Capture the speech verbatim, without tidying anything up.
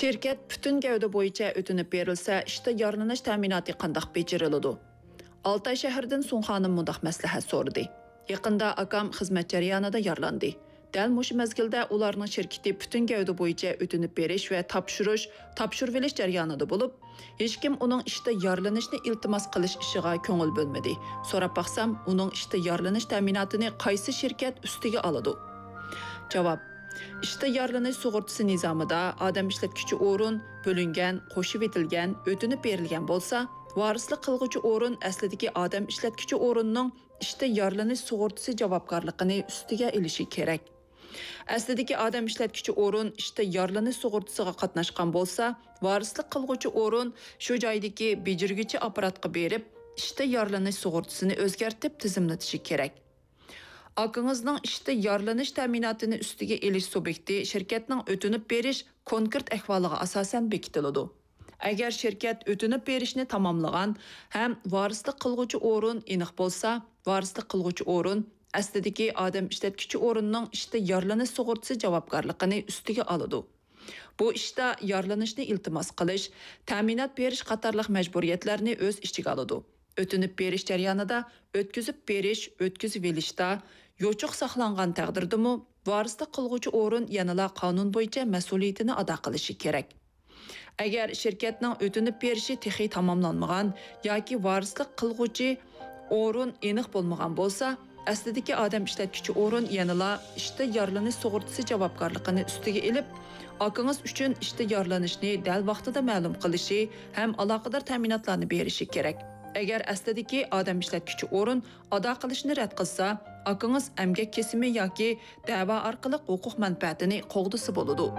شىركەت پۈتۈن گەۋدە بويىچە ئۆتۈنۈپ بېرىلسە، ئىشتا يارىلىنىش تەمىناتى قانداق بېجىرىلىدۇ؟ ئالتاي شەھىرىدىن سۇڭخانىم مۇنداق مەسلىھەت سورىدى. يېقىندا ئاكام خىزمەت جەريانىدا يارىلاندى. دەل مۇشۇ مەزگىلدە ئۇلارنىڭ شىركىتى پۈتۈن گەۋدە بويىچە ئۆتۈنۈپ بېرىش ۋە تاپشۇرۇش، تاپشۇرۇۋېلىش جەريانىدا بولۇپ، ھېچكىم ئۇنىڭ ئىشتا يارىلىنىشنى ئىلتىماس قىلىش ئىشىغا كۆڭۈل بۆلمىدى. سوراپ باقسام، ئۇنىڭ ئىشتا يارىلىنىش تەمىناتىنى قايسى شىركەت ئۈستىگە ئالىدۇ؟ جاۋاب. ئىشتا يارىلىنىش سۇغۇرتىسى نىزامىدا ئادەم ئىشلەتكۈچى ئورۇن بۆلۈنگەن، قوشۇۋېتىلگەن، ئۆتۈنۈپ بېرىلگەن بولسا، ۋارىسلىق قىلغۇچى ئورۇن ئەسلىدىكى ئادەم ئىشلەتكۈچى ئورۇننىڭ ئىشتا يارىلىنىش سۇغۇرتىسى جاۋابكارلىقىنى ئۈستىگە ئېلىشى كېرەك. ئەسلىدىكى ئادەم ئىشلەتكۈچى ئورۇن ئىشتا يارىلىنىش سۇغۇرتىسىغا قاتناشقان بولسا، ۋارىسلىق قىلغۇچى ئورۇن شۇ جايدىكى بېجىرگۈچى ئاپپاراتقا بېرىپ، ئىشتا يارىلىنىش سۇغۇرتىسىنى ئۆزگەرتىپ تىزىملىتىشى كېرەك. ئاكىڭىزنىڭ ئىشتا يارىلىنىش تەمىناتىنى ئۈستىگە ئېلىش سۇبيېكتى شىركەتنىڭ ئۆتۈنۈپ بېرىش كونكرېت ئەھۋالىغا ئاساسەن بېكىتىلىدۇ. ئەگەر شىركەت ئۆتۈنۈپ بېرىشنى تاماملىغان ھەم ۋارىسلىق قىلغۇچى ئورۇن ئېنىق بولسا، ۋارىسلىق قىلغۇچى ئورۇن ئەسلىدىكى ئادەم ئىشلەتكۈچى ئورۇننىڭ ئىشتا يارىلىنىش سۇغۇرتىسى جاۋابكارلىقىنى ئۈستىگە ئالىدۇ. بۇ ئىشتا يارىلىنىشنى ئىلتىماس قىلىش، تەمىنات بېرىش قاتارلىق مەجبۇرىيەتلەرنى ئۆز ئىچىگە ئالىدۇ. ئۆتۈنۈپ بېرىش جەريانىدا ئۆتكۈزۈپ بېرىش، ئۆتكۈزۈۋېلىشتا يوچۇق ساقلانغان تەقدىردىمۇ، ۋارىسلىق قىلغۇچى ئورۇن يەنىلا قانۇن بويىچە مەسئۇلىيىتىنى ئادا قىلىشى كېرەك. ئەگەر شىركەتنىڭ ئۆتۈنۈپ بېرىشى تېخى تاماملانمىغان ياكى ۋارىسلىق قىلغۇچى ئورۇن ئېنىق بولمىغان بولسا، ئەسلىدىكى ئادەم ئىشلەتكۈچى ئورۇن يەنىلا ئىشتا يارىلىنىش سۇغۇرتىسى جاۋابكارلىقىنى ئۈستىگە ئېلىپ، ئاكىڭىز ئۈچۈن ئىشتا يارىلىنىشنى دەل ۋاقتىدا مەلۇم قىلىشى ھەم ئالاقىدار تەمىناتلارنى بېرىشى كېرەك. ئەگەر ئەسلىدىكى ئادەم ئىشلەتكۈچى ئورۇن ئادا قىلىشنى رەت قىلسا، ئاكىڭىز ئەمگەك كېسىمى ياكى دەۋا ئارقىلىق ھوقۇق مەنپەئەتىنى قوغدىسا بولىدۇ.